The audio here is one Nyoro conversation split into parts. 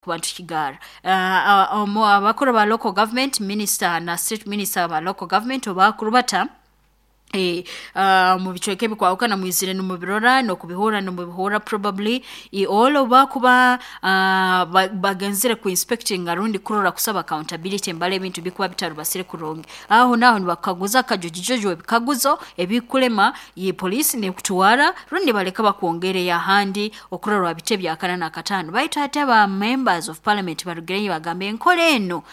Kuba nitukigarra abakuru ba local government minister na state minister ba local government obakurubata mu bicweka ebikwahukana mwizire nimubirora n'okubihurra nimubihurra probably all obu bakuba bagenzere ku inspectinga rundi kurora kusaba accountability mbara ebintu bikuba bitarubasire kurungi, aho naaho nibakukaguza kajojijojo ebikaguzo ebikulema police nekutwara rundi nibaleka bakwongereyo ahandi okurora wabitebya akana n'akataano. Baitu hati aba members of parliament barugireyo bagamba enkora enu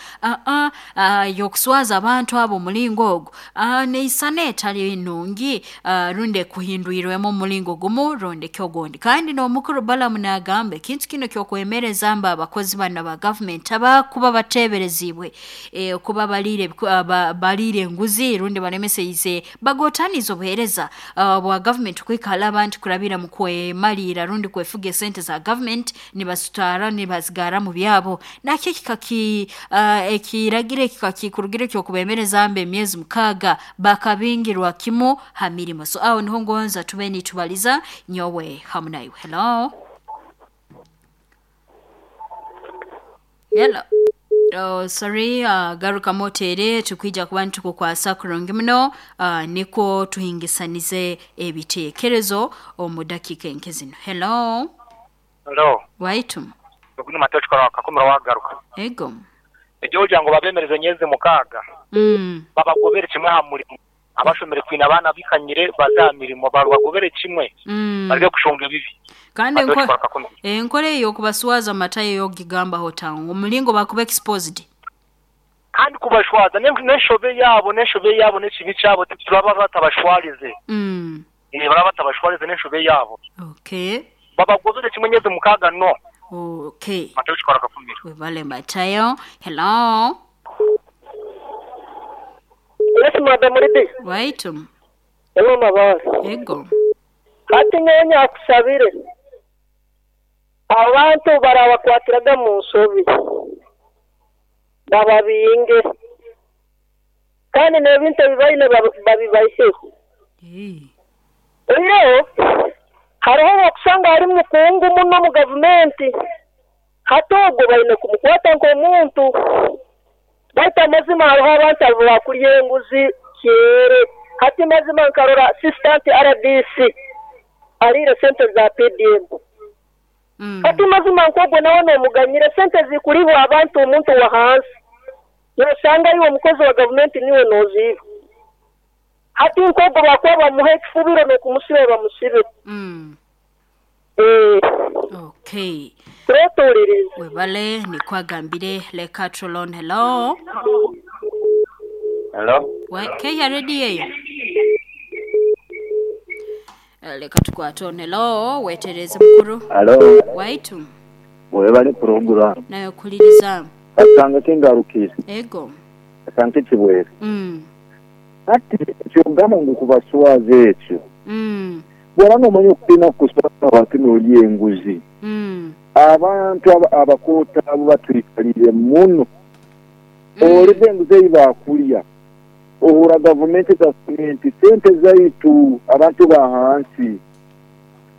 y'okuswaza abantu abo omulingo ogu neisana etali nungi rundi ekuhindwirwemu omulingo gumu rundi ki ogundi. Kandi n'omukuru Balaam naagamba ekintu kinu eky'okwemereza mbu abakozi banu aba government abakuba bateebereziibwe kuba baliire baliire enguzi rundi balemeseize bagootaniize obuheereza bwa government kuhika hali abantu kurabira mu kwemaliira rundi kwefuga esente za government nibazitwara nibazigarra mu byabo, nakyo ekiragiro eki kikakikurugire eky'okubeemereza mbu emyezi 6 bakabingirwa kimu ha mirimo. So aho niho ngonza tube nitubaliza nyowe hamu naiwe. Hello? Hello? Oh, sorry, garukamu oteere tukwija kuba nitukukwasa kurungi muno nikwo tuhingisanize ebiteekerezo omu dakiika nke zinu. Hello? Hello. Waitu? Ogu ni Matayo Kikora wa Kakumiro wagaruka. Ego. Eky'okugira ngu babeemereze emyezi 6 babagobere kimwe aha murimo. Abashomire twine abaana bikanyire baze aha mirimo babagobere kimwe bareke kushonga ebibi. Kandi Matayo Kikora Kakumiro. Enkora eyo y'okubaswaza Matayo yo ogigambaho ota omulingo bakuba exposed? Kandi kubashwaza n'enshobe yaabo n'enshobe yaabo n'ekibi kyabo turaba batabashwarize. Baraba batabashwarize n'enshobe yaabo. Okay. Babagobere kimwe emyezi 6 no. Okay. Matayo Kikora Kakumiro. Webale Matayo. Hello? Yes, Madam Ridi. Waitu. Hello, Mabara. Ego. Hati nyowe nyakusabire. Abantu barabakwatiraga mu nsobi. Bababinge. Kandi n'ebintu ebi baine babibaiheho. Oihireho, hariho okusanga hari mukungu muno mu gavumenti. Hati ogwo baine kumukwata nk'omuntu. Baitu amazima hariho abantu abo bakurya enguzi kyere. Hati mazima nkarora assistant RDC ariire sente za PDM. Hati mazima nk'ogwo nawe noomuganyire sente zikuribwa abantu omuntu wa hansi. Nosanga iwe omukozi wa gavumenti niwe nooziiba. Hati nk'ogwo bakuba bamuha ekifubiro n'okumusiba bamusibe. Okay. Turetuuliriza. Webale nikwagambire leka Trolon. Hello? Hello? Keya ready eyo? Leka tukwate on. Hello? Wetereze mukuru. Hello? Waitu. Webale program. Nayo kuliriza. Kasanga kingarukire. Ego. Kasanga kibwere. Ati kyogamba ngu kubaswaza ekyo. Bw'oba n'omanya okupima kuswaza abantu n'olya enguzi. Abantu abakoota abo batwikalire muno. Oleka enguzi ei baakulya. Ohura gavumenti sente zaitu abantu ba hansi.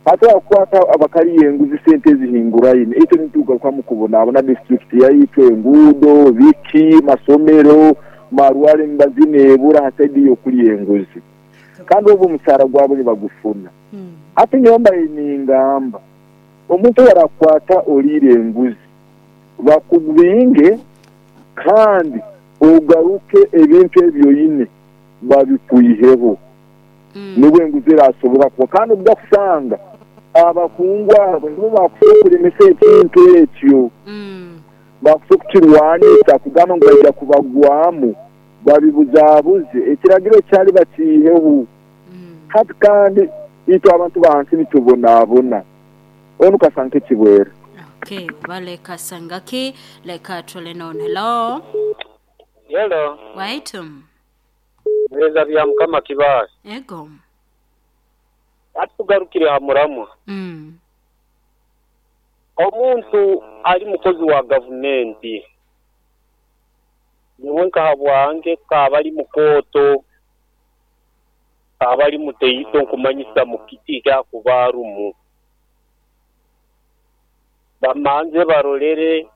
Ate bakukwata abakaliya enguzi sente ezihinguraine. Itwe nitugarukamu kubonaabona disitulikiti yaitu enguudo, biki, masomero, marware emibazi neebura ha saidi y'okulya enguzi. Kandi obwo omusaara gwabo nibagufuna. Hati nyowe mbaire ningamba omuntu obu arakukwata oliire enguzi bakubinge kandi ogaruke ebintu ebi oine babikwiheho. Nibwo enguzi erasobora kuba kandi obu bakusanga abakungu abo nibo bakusobola kulemesa ekintu ekyo. Bakusobola kukirwanisa kugamba ngu baija kubagwamu babibuzaabuze ekiragiro kyali bakiiheho. Hati kandi itwe abantu ba hansi nitubonaabona. Onu Kasanga Kibwere. Okay, wale Kasangaki leka Trolenon. Hello? Hello. Waitu. Mweza bya Mukama Kibaale. Ego. Ati tugarukire ha muramwa. Omuntu ali mukozi wa gavumenti. Nyowe nka bwange kaba ali mukooto, kaba ali muteito nkumanyisa mu kiti kyakuba arumu. Bamanze barolere.